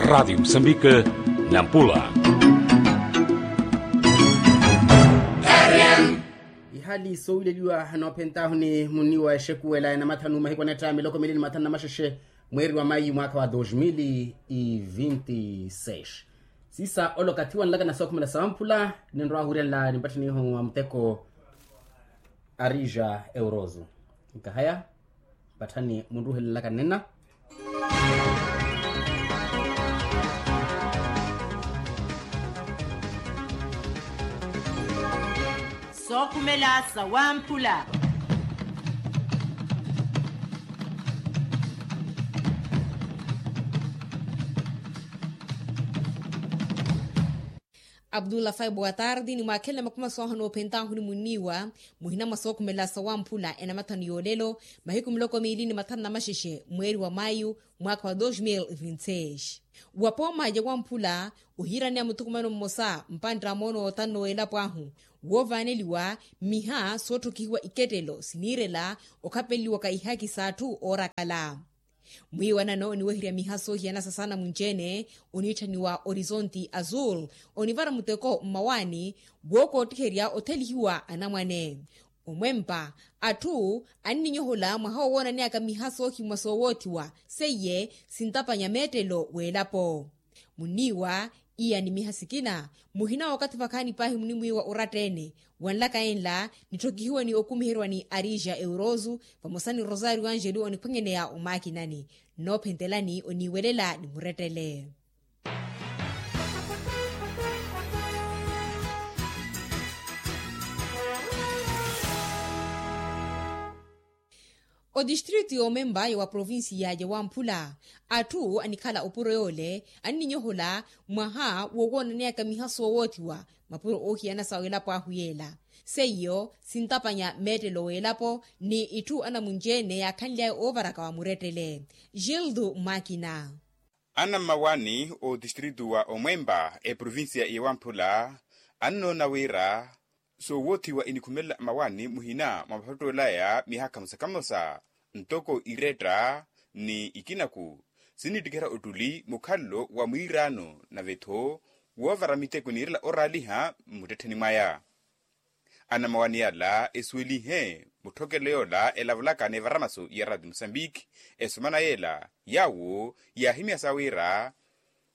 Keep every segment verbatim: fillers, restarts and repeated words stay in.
Radiyo musambike, nampula. Ihali soowileliwa noophentaahu ni munni wa exekuwela ya namathanu mahiku anetta miloko mili ni mathanu na maxexe, mweeri wa mayu mwaakha wa dos mil e vinte e seis. Siisa ole okathi wanlaka na sookhumela sawamphula, ninrowa wiriyanla nimpatthanihu wa muteko. Arija euroso nkahaya. Mpatthani munruhelelaka nnina. Sookhumela sawamphula. Abdullah fai boa tardi nimwaakhelela makhumaso ahu noophentaahu ni munniiwa. Muhina mwa sookhumela sawamphula enamathanu yoolelo, mahiku miloko miili ni mathanu na maxexe mweeri wa mayu, mwaakha wa dos mil e vinte e seis. Wa pooma ya wamphula ohiiraneya muthukumano mmosa mpantta a moono otanno w'elapo ahu, woovaaneliwa mmiha sootthokihiwa ikettelo siniirela okhapeleliwaka ihaaki s'atthu oorakala. Mwiiwanano oniweherya miha soohiyana sa saana munci-ene, oniitthaniwa orizonti azul, onivara muteko mmawaani wookoottiherya othelihiwa anamwane. Omwempa, atthu anninyohola mwaha wowoonaneyaka miha soohimwa soowoothiwa seiye sintapanya meettelo w'elapo. Munniiwa iya ni miha sikina, muhina w'okathi vakhaani paahi munimwiiwa oratta-ene. Wanlaka enla nitthokihiwe ni okumiheryiwa ni arija euroso vamosa ni rosario angelu oniphwanyaneya omaakinani. Nnoophentelani oniiwelela ni murettele. Otistritu y'omemba ya wa provincia ya wamphula, atthu anikhala opuro yoole anninyohola mwaha wowoonaneyaka miha soowoothiwa mapuro oohiyana sa w'elapo ahu yeela. Seiyo sintapanya meettelo w'elapo ni itthu anamunci-ene yaakhanly'aya oovaraka wa murettele. Gildo makina. Anammawaani otistritu wa omwemba eprovincia ya wamphula annoona wira soowoothiwa inikhumelela mmawaani muhina mwa maphottoolaya miha kamosa kamosa, ntoko iretta ni ikinaku sinittikerya ottuli mukhalelo wa mwiiraano nave-tho woovara miteko niirela oraaliha mmuttettheni mwaya. Anammawaani yala esuwelihe mutthokelo yoola elavulaka n'evaramaso ya rati musambiki esomana yeela yaawo yaahimyasa wira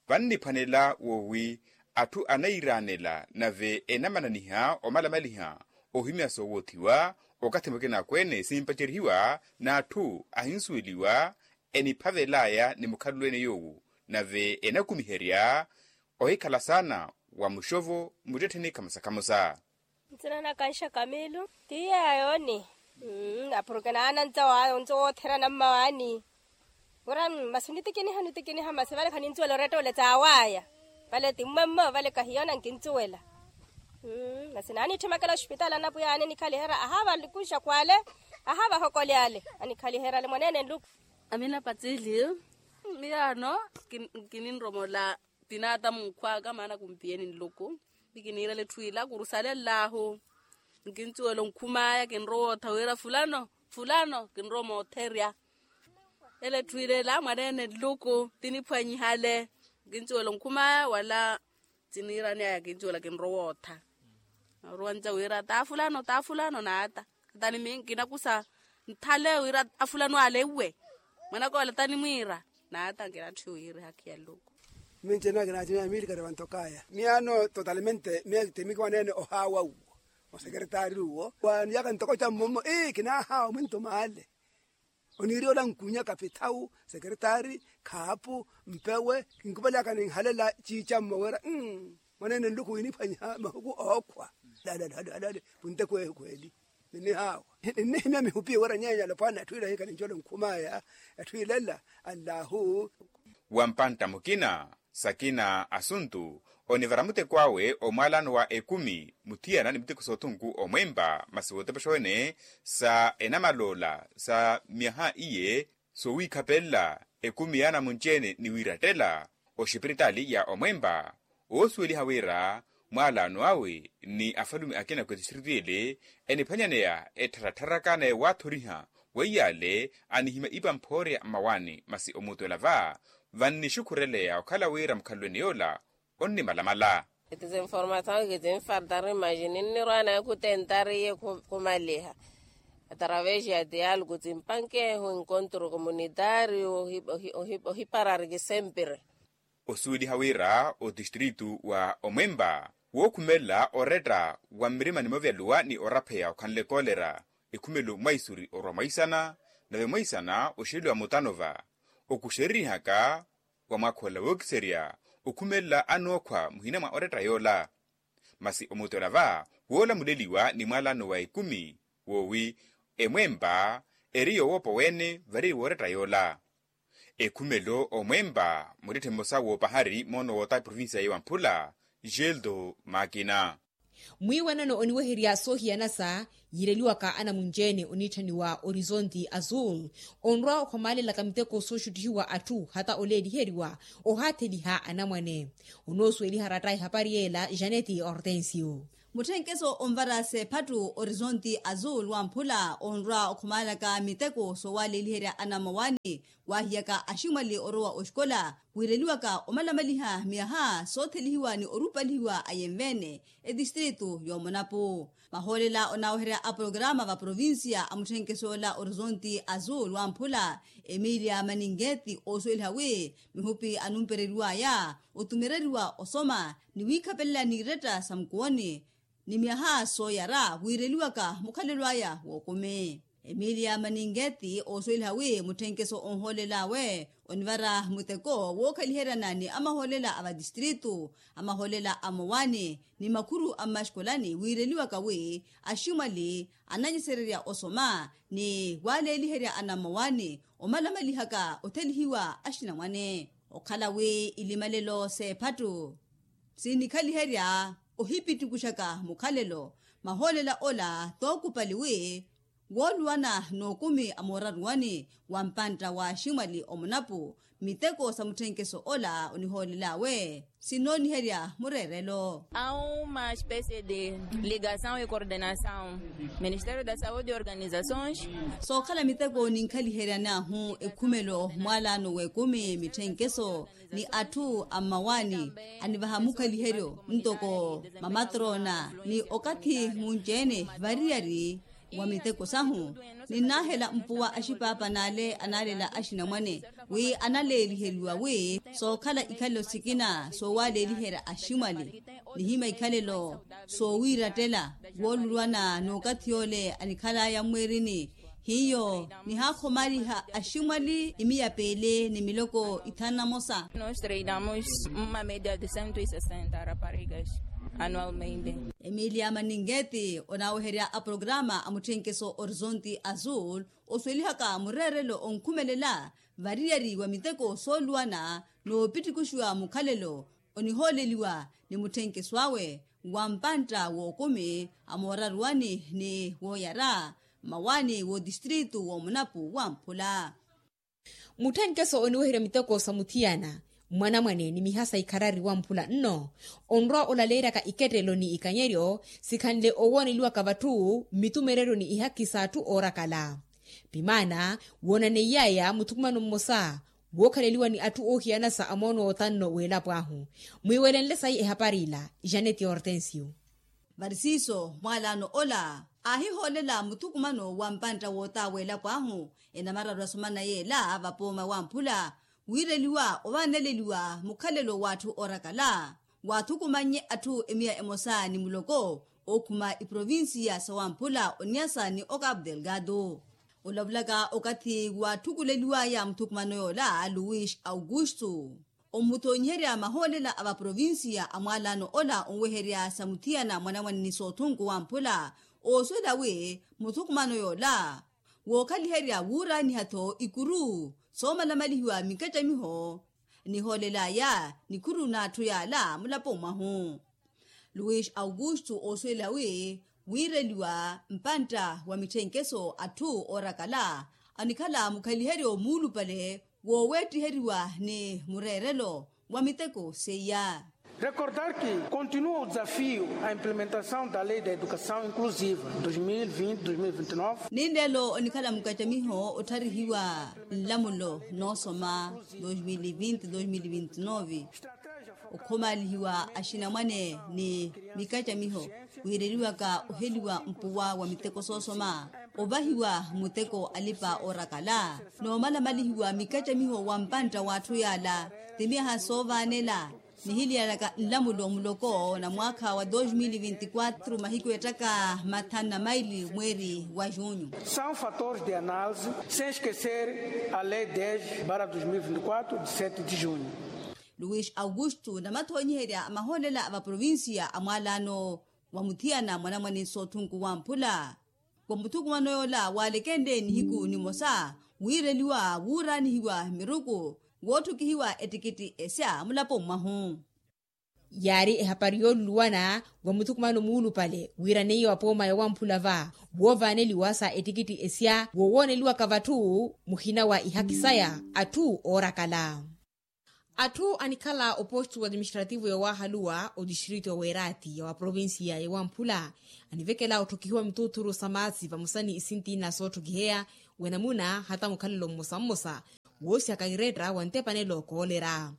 vanniphwanela woowi atthu anayiiraanela nave enamananiha omalamaliha ohimya soowoothiwa okathi mukina akweene simpacerihiwa n'atthu ahinsuweliwa eniphavel'aya ni mukhalelo ene yoowo nave enakumiherya ohikhala saana wa muxovo mmuttettheni khamosa khamosa. Nsina na kanxa kamilu ti yeeyo ni apuruke naana ntsa waayo ntsa wootherya nammawaani. Wira masi nitikiniha nitikiniha masi vale khanincuwela oretta ole tsaawaya. Vale ti mmwemmo vale kahiyoona nkincuwela. Masi naanitthimekela oxipitaali anapwiya aane nikhaliherya ahaava likunxaku ale ahaava ahokoli ale anikhaliherya ale mwaneene nluku. Amina patsili. Miyaano kininromola tinaata munkhw'aka maana kumpiyeni nluku. Ni kiniirela etthu ila kurusalenl'ahu nkincuwela onkhum'aya kinrowa ottha wira fulano fulano kinrowa mootherya. Ele etthu ila ela mwaneene nluku tiniphwanyihale nkincuwela onkhum'aya wala tiniiran'aya kincuwela kinrowa ottha. Naruwanca wira taa fulano taa fulano naata. Tani mi nkinakusa nthale wira afulano ale uwe mwanaka ole tanimwiira. Naata nkinatthi wiri hakhiya nluku. Minci ena kinatthi miya miilikari vantokaya miyaano totalmente miya timikiwaneene ohaawa uwo osekeretari uwo waniyaka ntoko cammomo ii kinahaawa mwinto maale. Oniiri ola nkunya kapithawu sekeretari khaapu mpewe kinkupelaka ninhalela ciicammo wira mwaneene nluku winiphwanyiha mahuku ookhwa. Lale lale lale punte kweehu kweeli. Ninnihaawa ninnihimya mihupi wira nyeenya alopwana etthu ila hikhala ncola onkhumaya etthu ilela. Allahu. Wa mpantta mukina sakina asuntu onivara muteko awe omwaalano wa ekumi muthiyana ni miteko soothunku omwempa masi wootepexowene sa enamaloola sa myaha iye soowiikhapelela ekumi yaana munci-ene ni wiirattela oxipiritaali ya omwempa. Oosuweliha wira mwaalaano awe ni afalume akina ku etistritu ele eniphwanyaneya ettharatharaka naye waathoriha weiyaale anihimya ipa mphoorya mmawaani masi omuutwela va vannixukhureleya okhala wira mukhalweni yoola onnimalamala. Eti zinformasawu kizinfartari maji ninnirwana kutentariye khumaliha atravesi ya dialogu zimpankehu enkontru komunitariyu ohiparariki sempiri. Osuweliha wira otistritu wa omwempa wookhumelela oretta wa mmirima ni mavyaluwa ni orapheya okhanle koolera ekhumelo mwaisuri orwa mwaisana nave mwaisana oxeliwa mutanova okuxeririhaka wa mwakhola wookiserya okhumelela anookhwa muhina mwa oretta yoola. Masi omutela va woolamuleliwa ni mwalano wa ekumi woowi emwempa eri yowoopa weene vari woretta yoola. Ekhumelo omwempa muttitthi mmosa woopahari moono woota provincia ya wamphula geldo makina. Mwiiwanano oniweherya soohiyanasa yiireliwaka anamunci-ene oniitthaniwa orizonti azul onrwa okhomaalelaka miteko sooxuttihiwa atthu hata oleeliheriwa ohaatheliha anamwane. Onoosuweliha ratta ehapari yeela janeti hortensio. Mutthenkeso onvara seephattu orizonti azul wamphula onrwa okhomaalaka miteko soowaleeliherya anamawani waahiyaka aximwali orowa oxikola wiireliwaka omalamaliha miyaha soothelihiwa ni orupalihiwa ayenveene etistritu y'omonapu. Mahoolela onaaweherya a programa va provincia a mutthenkeso ola orizonti azul wamphula emilia maninketi oosuweliha wi mihupi anumpereriwaya otumereriwa osoma ni wiikhapelela n'iretta sa mukuwoni ni myaha sooyara wiireliwaka mukhalelo aya wookumi. Emilia maninketi oosuweliha wi mutthenkeso onhoolel'awe onivara muteko wookhaliheryana ni amahoolela a vatistritu amahoolela a mowani ni makhuru a mmaxikolani wiireliwaka wi aximwali ananyesererya osoma ni waleeliherya anamowani omalamalihaka othelihiwa axinamwane okhala wi ilimalelo s'ephattu sinikhaliherya ohipittukuxaka mukhalelo. Mahoolela ola tookupali wi wooluwana n'okumi a mooraruwani wa mpantta wa aximwali omunapu miteko sa mutthenkeso ola onihoolel'awe sinooniherya mureerelo. Auma especie de ligasaw e coordenasaw ministério da saúde e organizasaw. Sookhala miteko ninkhaliheryan'ahu ekhumelo mwaalaano w'ekumi mitthenkeso ni atthu a mmawaani anivaha mukhaliheryo ntoko mamatroona ni okathi munci-ene variyari wa miteko sahu. Ninnaahela mpuwa axipaapa n'ale anaalela axinamwane wi analeeliheriwa wi sookhala ikhalelo sikina soowaleeliherya aximwali nihima ikhalelo soowiirattela woolulwana n'okathi yoole anikhal'aya mmwiirini hiyo nihaakhomaliha aximwali imiya piili ni miloko ithanu na mosa. Nos treinamos uma media de cento e sessenta raparigas anualmente. Emilia maninketi onaaweherya a programa a mutthenkeso orizonti azul osuwelihaka mureerelo onkhumelela variyari wa miteko sooluwana noopittukuxiwa mukhalelo onihooleliwa ni mutthenkeso awe wa mpantta w'okumi a mooraruwani ni wooyara mmawaani w'otistritu w'omunapu wamphula. Mutthenkeso oniweherya miteko sa muthiyana mwanamwane ni mihasa ikharari wamphula nno onrwa olaleeryaka ikettelo ni ikanyeryo sikhanle owooneliwaka vatthu mmitumereryo ni ihakhi s'atthu oorakala. Pimaana woonaneiy'aya muthukumano mmosa wookhaleliwa ni atthu oohiyanasa a moono wootanno w'elapo ahu. Mwiiwelenle sayi ehapari ila janeti hortensio. Vari siiso mwaalaano ola aahihoolela muthukumano wa mpantta woota w'elapo ahu enamararu asomana yeela vapooma wamphula wiireliwa ovaaneleliwa mukhalelo w'atthu oorakala waathukumannye atthu emiya emosa ni muloko ookhuma iprovincia sawamphula oniasa ni okapu delgado. Olavulaka okathi waatthukuleliwaya muthukumano yoola luis augusto ommuthonyiherya mahoolela a vaprovincia a mwaalaano ola onweherya sa muthiyana mwanamwane ni soothunku wamphula oosuwela wi muthukumano yoola wookhaliherya wuuraaniha-tho ikuru soomalamalihiwa mikettamiho nihoolel'aya nikhuru n'atthu yaala mulaponi mwahu. Luis augusto oosuwela wi wiireliwa mpantta wa mitthenkeso atthu oorakala anikhala mukhaliheryo muulupale wooweettiheriwa ni mureerelo wa miteko seiya. Recordar ki continua o desafiu a implementasaw da lei da edukasaw inklusiva dois mil e vinte dois mil e vinte e nove. Ninlelo onikhala mukacamiho ottharihiwa nlamulo noosoma dois mil e vinte dois mil e vinte e nove, okhomalihiwa axinamwane ni mikacamiho wiireliwaka oheliwa mpuwa wa miteko soosoma, ovahiwa muteko alipa oorakala, noomalamalihiwa mikacamiho wa mpantta w'atthu yaala, ti myaha soovaanela nihiliyalaka nlamulo muloko na mwaakha wa dois mil e vinte e quatro mahiku ettaka mathanu na maili mweeri wa junho. São fatores de análise, sem esquecer a lei dez barra dois mil e vinte e quatro de sete de junho. Luis augusto namathonyiherya a mahoolela a vaprovincia a mwaalano wa muthiyana mwanamwane sootthunku wamphula, wa muthukumano yoola waalekenle nihiku nimosa wiireliwa wuuraanihiwa miruku wootthukihiwa ettikitthi esya mulapo mwahu. Yaari ehapari yooluluwana wa muthukumano muulupale wiiraneiye wa pooma ya wamphula va woovaaneliwa sa ettikitthi esya wowooneliwaka vatthu muhina wa ihaki saya atthu oorakala. Atthu anikhala oposto administrativo ya wahaluwa odistrito ya weerati ya waprovincia ya wamphula anivekela otthokihiwa mituuthuru sa maasi vamosa ni isintina sootthokiheya wenamuna hata mukhalelo mmosa mmosa woosihaka iretta wa ntepanelo koolerya.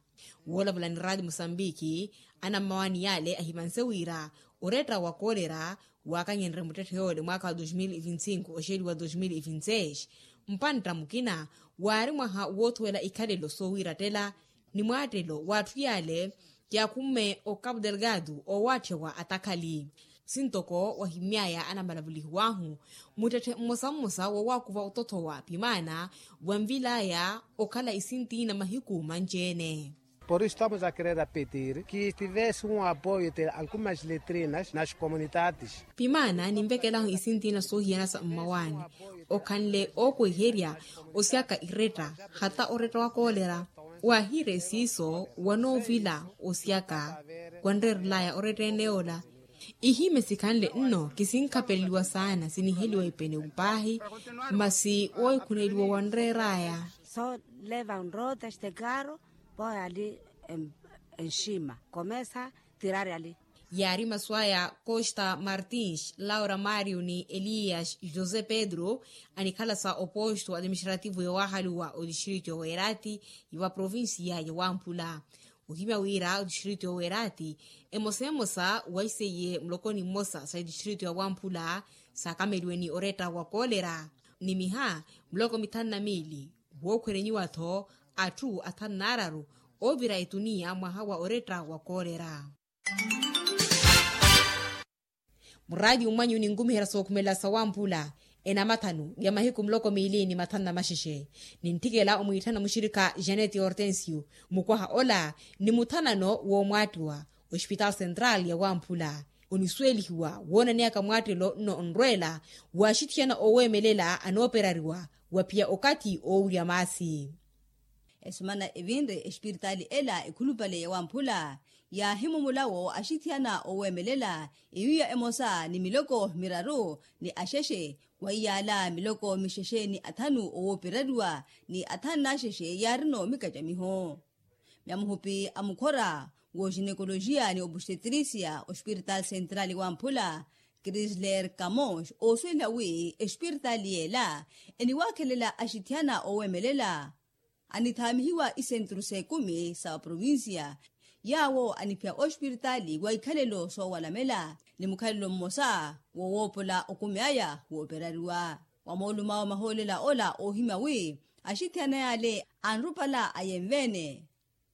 Woolavula ni raati mosambiki anammawaani yaale ahimanse wira oretta wa koolerya waakanyererye muttetthe yoole mwaakha wa dos mil e vinte e cinco oxeeliwa dos mil e vinte e seis mpantta mukina waari mwaha woothuwela ikhalelo soowiirattela ni mwaattelo w'atthu yaale yaakhumme o cabo delgado oowaatthiwa atakhali. Sintoko wahimyaya anamalavulihiw'ahu muttetthe mmosa mmosa woowaakuva otothowa pimaana wanvilaya okhala isintina mahiku manci-ene. Por isu estamos a querer apetir ki estivese un apoio de algumas letrinas nas comunidades. Pimaana ninvekelahu isintina soohiyana sa mmawaani okhanle ookweherya osyaka iretta hata oretta wa koolera. Waahiire siiso wanoovila osyaka wanreerelaya oretta ene yoola. Ihime sikhanle nno kisinkhapeleliwa saana siniheliwa ipene upaahi masi woohikhuneliwa wanreeraya. Só levam rodas de carro, põe ali em, em cima, começa a tirar ali. Yaari masu aya costa martins laura mario ni elias josé pedro anikhala sa oposto administrativo ya wahaluwa odistrito ya weerati ya waprovincia ya wamphula. Ohimya wira odistrito ya weerati emosa emosa waiseiye mulokoni mmosa sa odistrito ya wamphula saakameliwe ni oretta wa koolera ni miha muloko mithanu na miili wookhwerenyiwa-tho atthu athanu n'araru oovira etuniya mwaha wa oretta wa koolera. Muraati umwanyu ninkumiherya sookhumelela sawamphula enamathanu ya mahiku muloko miili ni mathanu na maxexe ninthikela omwiitthana muxirikha janet hortensio mukwaha ola ni muthanano woomwaattiwa ospitaal central ya wamphula onisuwelihiwa woonaneyaka mwaattelo nno onrweela waaxithiyana ooweemelela anooperariwa waphiya okathi oowirya maasi. Esemana evinre espiritaali ela ekhulupale ya wamphula yaahimumulawo axithiyana ooweemelela iyuya emosa ni miloko miraru ni axexe wa iyaala miloko mixexe ni athanu owooperariwa ni athanu n'axexe yaarino mikacamiho. Myamuhupi a mukhora w'oxinekolojiya ni obustetrisia ospiritaali sentrali wamphula krisler kamos oosuwela wi espiritaali yeela eniwaakhelela axithiyana ooweemelela anithaamihiwa isentru s'ekumi sa vaprovinsiya yaawo aniphiya ospiritaali wa ikhalelo soowalamela ni mukhalelo mmosa wowoopola okumi aya wooperariwa. Wa moolumawo mahoolela ola oohimya wi axithiyana yaale anrupala ayenve-ene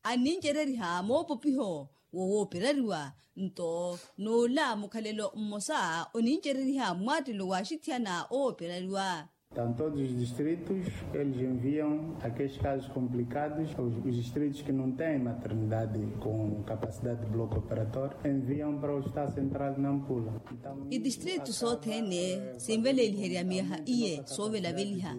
annincereriha moopopiho wowooperariwa nto n'ola mukhalelo mmosa onincereriha mmwaattelo w'axithiyana ooperariwa. Tão todos os distritos eles enviam aqueles casos complicados os distritos que não têm maternidade com capacidade de bloco operatório enviam para o estado central na ampula. Itistritu sothene sinveleeliherya miyaha iye soovelaveliha.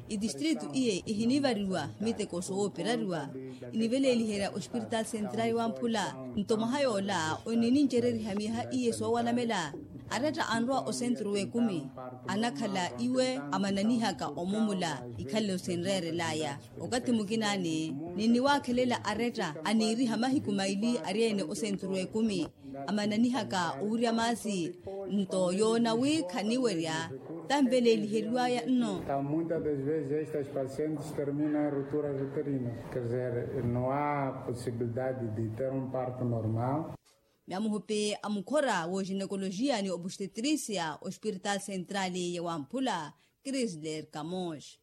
Itistritu iye ihinivariwa miteko sowooperariwa iniveleeliherya ospiritaali sentrali wamphula nto mwaha yoola oninincereriha miyaha iye soowalamela. Aretta anrowa osenturu w'ekumi anakhala iwe amananihaka omumula ikhale osinreerel'aya. Okathi mukinaani ninniwaakhelela aretta aniiriha mahiku maili ari-ene osenturu w'ekumi amananihaka owirya maasi. Nto yoona wi khaniwerya tanveleeliheriw'aya nno. Muitas das vezes estas pacientes terminam em rupturas uterinas, quer dizer, não há possibilidade de ter um parto normal. Myamuhupi a mukhora w'oginekolojiya ni obustetrisia ospiritaali sentrali ya wamphula, krisler kamos.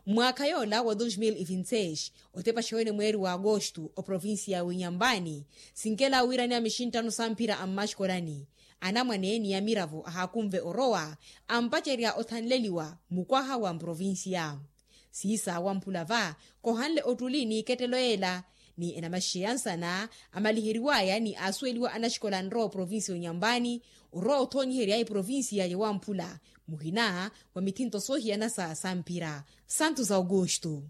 Mwaakha yoola wa dos mil e vinti seis otepaxa wene mweeri wa agosto oprovincia w'inyampani, sinkela wiiraniya mixinttano samphira a mmaxikolani, anamwane ni amiravo ahaakunve orowa ampacerya othanleliwa mukwaha wa mprovincia. Siisa wamphula va kohanle ottuli n'ikettelo yeela, ni enamaxixeya nsana amaliheriw'aya ni aasuweliwa anaxikola anrowa oprovincia onyampani, orowa othoonyiherya eprovincia ya wamphula muhina wa mithinto soohiyana sa samphira. Santos augusto.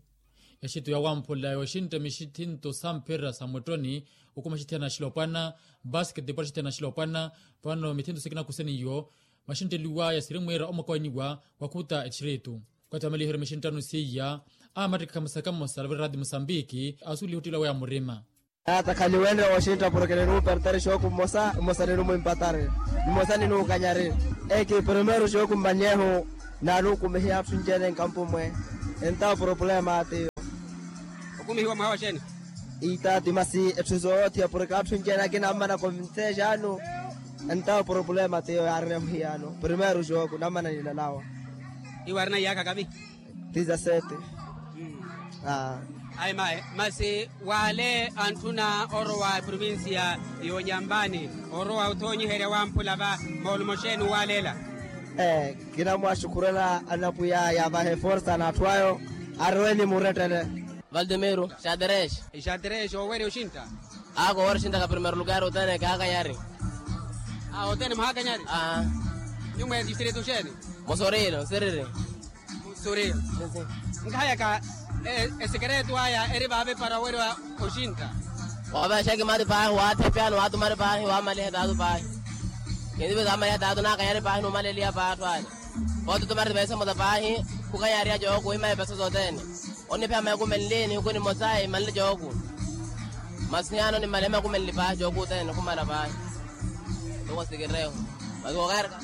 Exittu ya wamphula yooxintta mithinto samphira sa mwettoni, okuma axithiyana axilopwana, basketball axithiyana axilopwana. Vano mithinto sikina kuseniyo maxintteliw'aya sirimwiira omwakowaniwa wakhuta exittu. Okathi wa maliheryo mixinttano seiya, amattikha mosaka mmosa alavira rati musambiki asuliha ottila weya murima. Atakhaliwenre wooxintta porke ninuupertari xooku mmosa mmosa ninumwimpatari, mmosa ninuukanyari. Eki primeiro xooku mmanyehu naanukumihiya atthu nci-ene nkampu mwe. Entawo problema atiyo. Okumihiwa mwaha wa xeeni? Iitaati masi etthu soothiya porke atthu nci-ene akina ammana konvinseexaanu. Entawo problema tiyo yaarina muhiyano primeiro xooku nammana nilalawa. Iwe arina iyaakha kavi? Dizasete. Ayi mayi masi wale antthuna orowa eprovincia y'onyambani, orowa othoonyiherya wamphula va moolumo xeeni uwaleela? Kinamwaxukhurela anapwiya yaavahe forsa n'atthu ayo. Arowe ni murettele. Valdemiro xaterexe. Xaterexe owerya oxintta? Aako owerya oxintta ka primeiro lugar othene kaakanyari. Othene mwahaakanyari? Nyumwa ya distrito xeeni? Mosorilo nsiriri. Mosorilo. Nkahayaka esekereto aya eri vaave para owerya oxintta? Waavexa ekimati paahi waathepyani waatumari paahi waamaliha etaatu paahi. Kindive kaamaliha etaatu naakanyari paahi numaleliha paahi atthu ale. Poote otumari peesa emosa paahi khukanyariha jooku ohimaya peesa sothene. Onipheya maikumenli nihuku nimosa imanle jooku. Masi hiyano nimale maikumenli paahi jooku othene nikhumala paahi. Tuko sikireo. Masi kookaerka.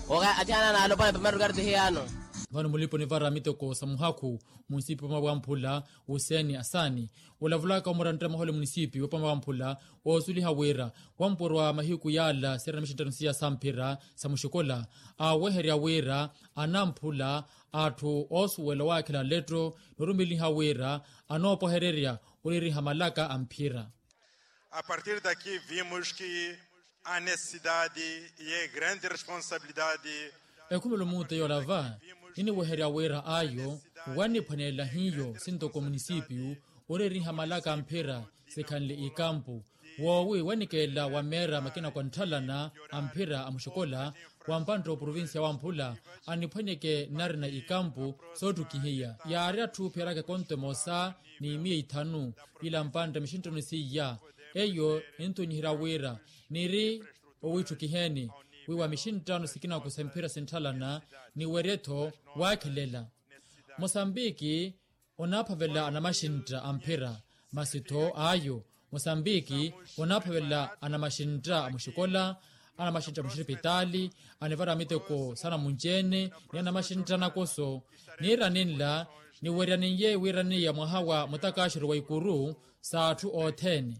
Kooka athiana naalopana primeiro lugar ti hiyano. Vano mulipa onivara miteko sa muhakhu munisipi wopama wamphula, hussein asani, olavulaka omurantera mwaha ole munisipi wopama wamphula, oosuliha wira wampurwa mahiku yaala sirina mixinttano siya samphira sa muxikola, aaweherya wira anamphula atthu oosuwela owaakhela letto noorumeliha wira anoopwahererya oliriha malaka a mphira. A partir daqui vimos que a necessidade e a grande responsabilidade. Ekhumelo muute yoola va niniweherya wira ayo waniphwanelela hiyo sintoko munisipiyu oreriha malaka a mphira sikhanle ikampu, woowi wanikeela wameera makina kwa ntthalana a mphira a muxikola wa mpantta oprovincia wamphula aniphwanyeke nnarina ikampu soottukihiya yaari atthu phiyaraka ekonto emosa ni miya ithanu, ila mpantta mixinttano seiya. Eyo ninthunyiherya wira niri owiitthukiheni wiiwa mixinttano sikinaku sa mphira sintthalana niwerye-tho waakhelela. Mosambiki onaaphavela anamaxintta a mphira masi-tho ayo mosambiki onaaphavela anamaxintta a muxikola, anamaxintta a muxipitaali, anivara miteko saana munci-ene ni anamaxintta anakoso. Niira ninla niwerya ninye wiiraniya mwaha wa mutakaxero wa ikuru sa atthu othene.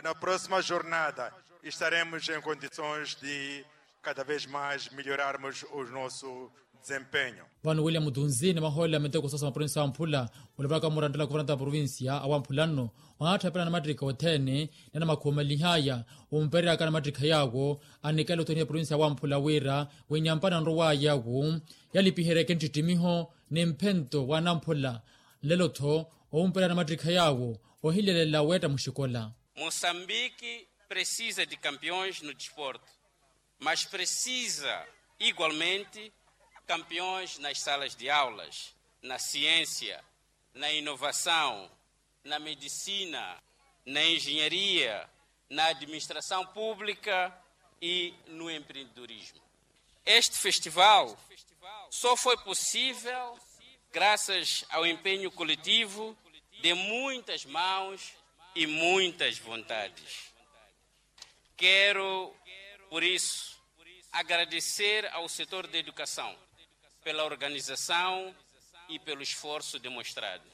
Na próxima jornada estaremos em condições de cada vez mais melhorarmos o nosso desempenho. Vano william tunzi ni mahoolela miteko soosa maprovinsiya wamphula, olavulaka murantela kuvaranta provinsiya awamphula nno, onaatthapela anamattikha othene ni anamakhuumalihaya ompereyaka anamattikha yaawo anikela othoniha provinsiya wamphula wira winyampani anrowaya wu yalipiheryeke nttittimiho ni mphento wa anamphula. Nlelo-tho owumperya anamattikha yaawo ohilelela weetta muxikola. Moçambique precisa de campeões no desporto, mas precisa igualmente campeões nas salas de aulas, na ciência, na inovação, na medicina, na engenharia, na administração pública e no empreendedorismo. Este festival só foi possível graças ao empenho coletivo de muitas mãos e muitas vontades. Quero, por isso, agradecer ao setor da educação pela organização e pelo esforço demonstrado,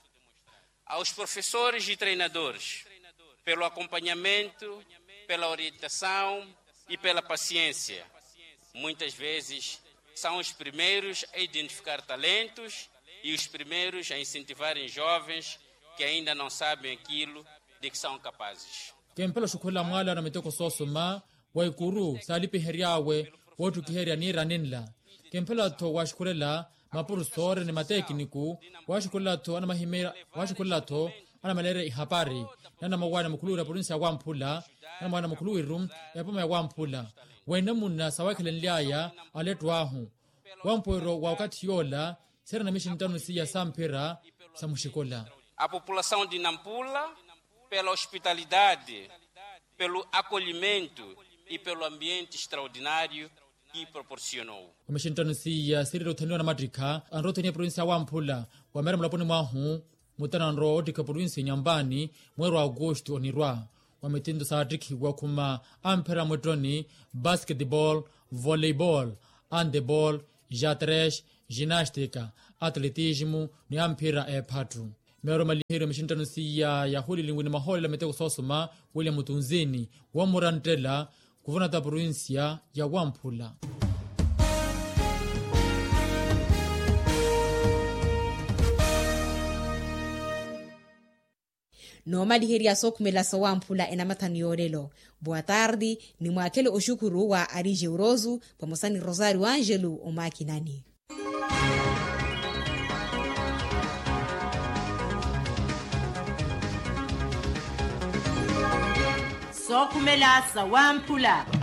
aos professores e treinadores pelo acompanhamento, pela orientação e pela paciência. Muitas vezes são os primeiros a identificar talentos e os primeiros a incentivarem jovens que ainda não sabem aquilo de que são capazes. Kempela oxukhulela mwaala na miteko soosoma wa ikuru saalipihery'awe woottukiherya niirani nla. Kempela-tho waxukhulela mapursoore ni matekiniku, waxukhulela-tho anamahimeerya waxukhulela-tho anamaleerya ihapari. Ni anamawaani mukhuluwiru ya provincia ya wamphula, ni anamawaani mukhuluwiru ya epoma ya wamphula. Weenamuna sawakhelenly'aya alettu ahu wampoweryo wa okathi yoola. Seera na mixinttano siya samphira sa muxikola. A população de nampula pela hospitalidade, pelo acolhimento e pelo ambiente extraordinário que proporcionou. Wa mixinttano siya siirira othaniwa namattikha anrowa othaniwa provincia ya wamphula. Wa meera mulaponi mwahu mutana anrowa ottikha provincia nyambani mweeri wa aukustu onirwa. Wa mitinto saattikhiwa khuma amphira mwittoni, basketball, volleyball, handball, jatres, ginastika, atletismo ni amphira eephattu. Meero maliheryo mixinttano siya yahulilinwi ni mahoolela miteko soosoma william tunzini wommuranttela kuvonata provincia ya wamphula. Noomaliherya sookhumela sowamphula enamathani yoolelo. Boa tarde, ni mwaakhele oxukuru wa ari jeuroso vamosa ni rosario angelo omakinani. Sookhumela sawamphula.